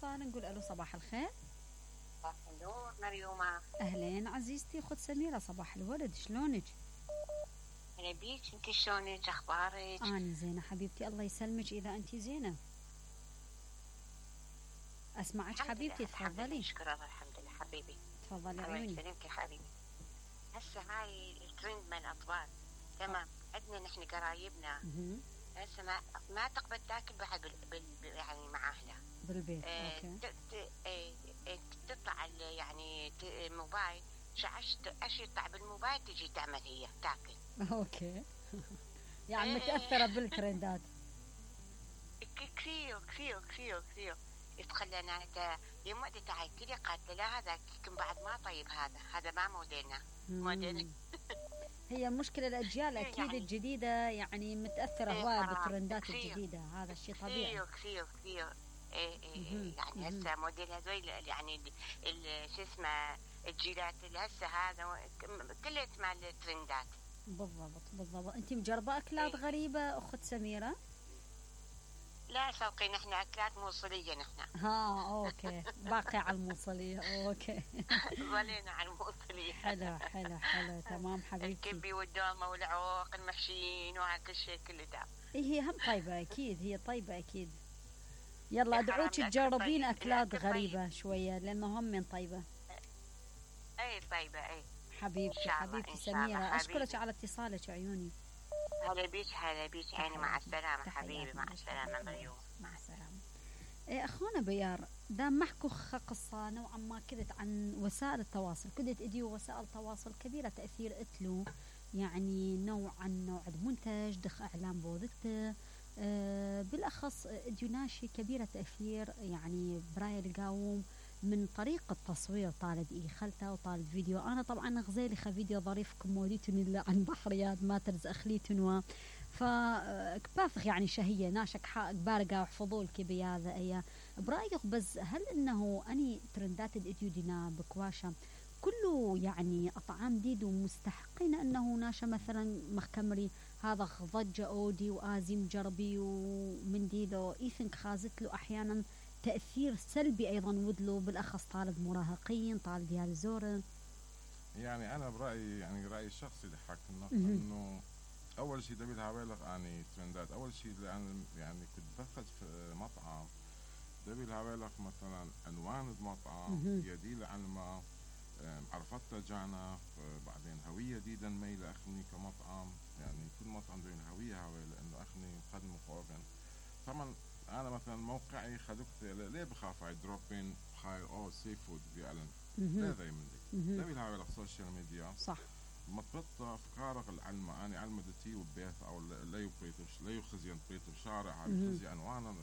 الاتصال نقول الو صباح الخير. صباح النور مريومة. اهلين عزيزتي اخت سميرة، صباح الورد، شلونك؟ هلا بيك، انت شلونك؟ اخبارك؟ انا زينة حبيبتي، الله يسلمك اذا انت زينة. اسمعك حبيبتي، تفضلي. شكرا، الحمد لله حبيبي. تفضلي الله عيوني. يسلمك يا حبيبي. هسه هاي الترند من الاطفال، تمام. عندنا نحن قرايبنا هسه ما تقبل تاكل بعد يعني مع اهلها بالبيت. اوكي. تطلع يعني موبايل ايش يطلع بالموبايل تجي تعمل هي تاكل. اوكي. يعني متأثرة بالترندات. كثير كثير كثير كثير. يتخلى انت يوم وقت تعي كذا قالت لا هذا يمكن بعد ما طيب، هذا ما موديلنا. موديلنا. هي مشكلة الأجيال أكيد يعني الجديدة يعني متأثرة هواية بالترندات الجديدة، هذا الشيء طبيعي. كثير كثير. يعني هسه موديل هذول يعني شو اسمه الجيلات اللي هسه هذا كلها مال الترندات. بالضبط. أنت مجربة أكلات غريبة أخت سميرة؟ لا شوقي، نحن أكلات موصلية نحن. أوكي. باقي على الموصلية. أوكي. ظلينا على الموصلية. حلو تمام حبيبتي. الكبي والدومة والعوق المحشيين وهكذا شيء كله دام. هي هم طيبة أكيد، هي طيبة أكيد. يلا أدعوك تجربين أكلات غريبة شوية لأنه هم من طيبة. أي طيبة أي. حبيبتي سميرة، أشكرك على اتصالك عيوني. هلا بيك يعني مع السلامة حبيبي، مع السلامة مريوم، مع السلامة. أخونا بيار، دام محكو قصة نوعا ما كذت عن وسائل التواصل، كدت إدي وسائل تواصل كبيرة تأثير إتلو، يعني نوع منتج دخ إعلام بوذته، بالأخص إديوناشي كبيرة تأثير يعني براي القاوم من طريقة التصوير، طالد خلته وطالد فيديو. أنا طبعا غزيلي فيديو ظريف كموليتني اللي عن بحريات ما ترز أخليتنوا فكبافخ يعني شهية ناشك حق بارقة وحفظول كبي هذا أيا برأيك. بس هل إنه أني ترندات الإديو دينا بكواشة كله يعني أطعام ديد ومستحقين أنه ناشا مثلا مخكمري هذا ضجة أودي وآزم جربي ومن ديلو إيثنك خازت له أحيانا تأثير سلبي أيضا ودلو بالأخص طالب مراهقين طالب ديال زورن. يعني أنا برأيي يعني رأيي الشخصي اللي حكنا إنه أول شيء دبي الهوالق يعني ترندات. أول شيء يعني كنت دخلت في مطعم دبي الهوالق مثلا عنوان المطعم يدل عن ما عرفتها جانا بعدين هوية جديدا ميلة أخني كمطعم، يعني كل مطعم دين هوية لأنه أخني خدمة قوابين. طبعا أنا مثلا موقعي خدكت ليه بخاف على دروبين خاير سي فود بيعلن لا ذي من ذي دبي الهوالق سوشيال ميديا صح مطبطة أفكارك العلمة أنا علمة دتي وبيت أو لا يبريتش لا يخزين بريتش شارع على خزي عنوانا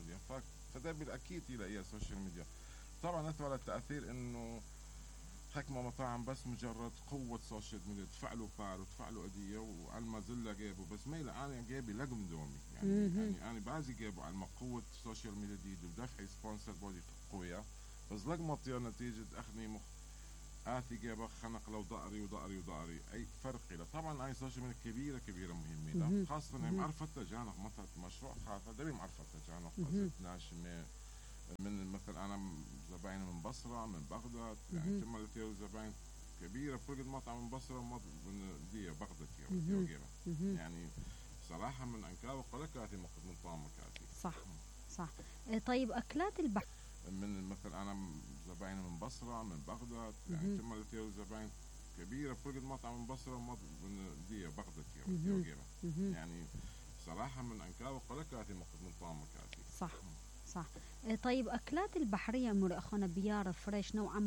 فدبي أكيد هي السوشيال ميديا. طبعا أثر التأثير إنه حكمة مطاعم بس مجرد قوة سوشيال ميديا تفعلوا فار وتفعلوا أدية وعلى زلة جيبوا بس ميلا أنا جيبي لقم دومي يعني أنا بعزي جيبوا على قوة سوشيال ميديا دي ودفع سبونسر بودي قوية بس لقمة طير نتيجة أخني آتي جيبه خنق لو ضأري أي فرق له. طبعا أي سوشيال ميديا كبيرة مهمة خاصة إنهم عرفت تجانب مثلا مشروع خاطر دبي معرفت تجانب ناشمة من مثل أنا زباين من بصرة من بغداد يعني ثم لتيو زباين كبيرة فرق المطعم من بصرة من دي بغداد يعني صراحة من أنكار وقلكاتي من طعمكاتي صح. طيب أكلات البحر من مثل أنا زباين من بصرة من بغداد يعني ثم لتيو زباين كبيرة فرق المطعم من بصرة من دي بغداد يعني صراحة من أنكار وقلكاتي من طعمكاتي صح. طيب أكلات البحرية مر أخونا بيار فريش نوعا